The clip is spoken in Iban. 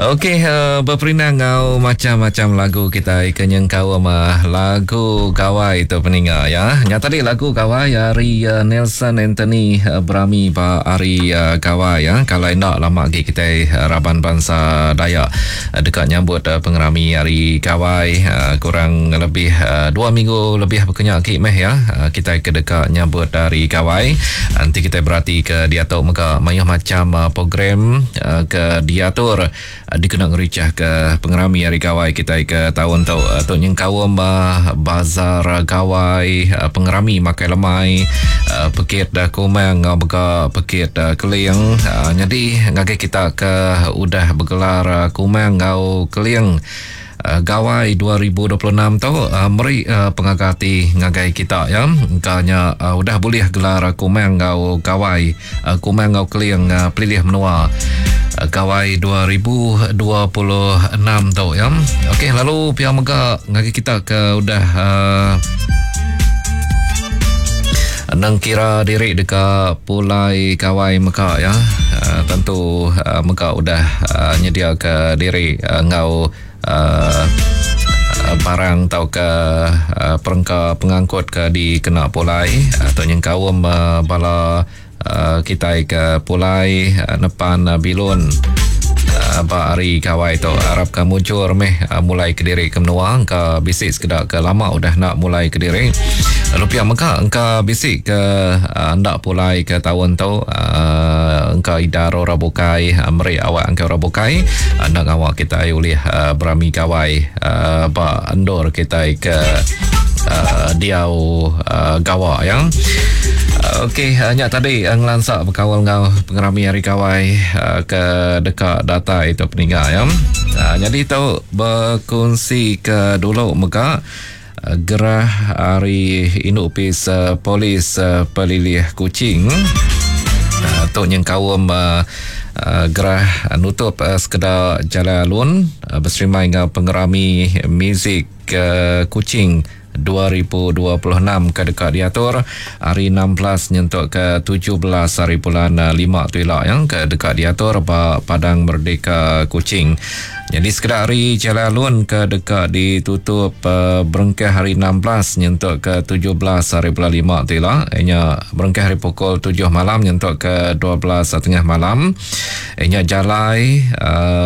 Okey, uh, beperindang ngau macam-macam lagu kita ke nyengkaum uh, lagu gawai tu peninga ya. Nya tadi lagu gawai ari uh, Nelson Anthony uh, berami ba hari uh, gawai ya. Kalau enda lama lagi kita uh, raban bangsa Dayak uh, deka nyambut uh, pengerami hari gawai uh, kurang lebih uh, dua minggu lebih berkenyak lagi meh ya. Uh, kita ke deka nyambut hari gawai. Nanti kita berarti ke diatu mega mayuh macam uh, program uh, ke diatur dikena ngerichah ke pengerami Hari Gawai kitai ke taun tu. Tu nyengkaum bazar gawai, pengerami makai lemai, pekit kumang enggau mega pekit keling. Nyadi ngagai kita ke udah begelar kumang enggau keling Gawai 2026 tu meri pengaga ati ngagai kita ya. Engka nya udah bulih gelar Kumang enggau Gawai, Kumang enggau Keling Pelilih Menua Gawai 2026 tu ya. Okey lalu pia mega ngagai kita ke udah Nang kira diri deka pulai gawai mega ya. Tentu mega udah nyediaka diri enggau barang tauka perengka pengangkut ke dikena pulai tu nyengkaum bala kitai ke pulai nepan bilun ba hari gawai tu. Arapka mujur meh mulai kediri ke menua engka bisi sekeda ke lama udah enda mulai kediri. Lalu pia mega engka bisi ke enda pulai ke taun tu engka idar orang bukai meri awak engka orang bukai enda ngawa kitai ulih berami gawai ba endur kitai ke diau gawa ya. Okey, nya tadi ngelansa bekaul enggau pengerami Hari Gawai ke deka datai tu peninga ya. Nyadi tu bekunsi ke dulu mega gerah ari Indu Opis Polis Pelilih Kuching. Tu nyengkaum gerah nutup sekeda jalai alun beserimbai enggau pengerami muzik Kuching 2026 ke deka diatur hari 16 nyentuk ke 17 hari bulan 5 tu ila ya ke deka diatur ba Padang Merdeka Kuching. Jadi sekeda hari jalai alun ke deka ditutup uh, berengkah hari 16 nyentuk ke 17 hari bulan 5 tu ila ianya berengkah hari pukul 7 malam nyentuk ke 12 tengah malam. Ianya jalai uh,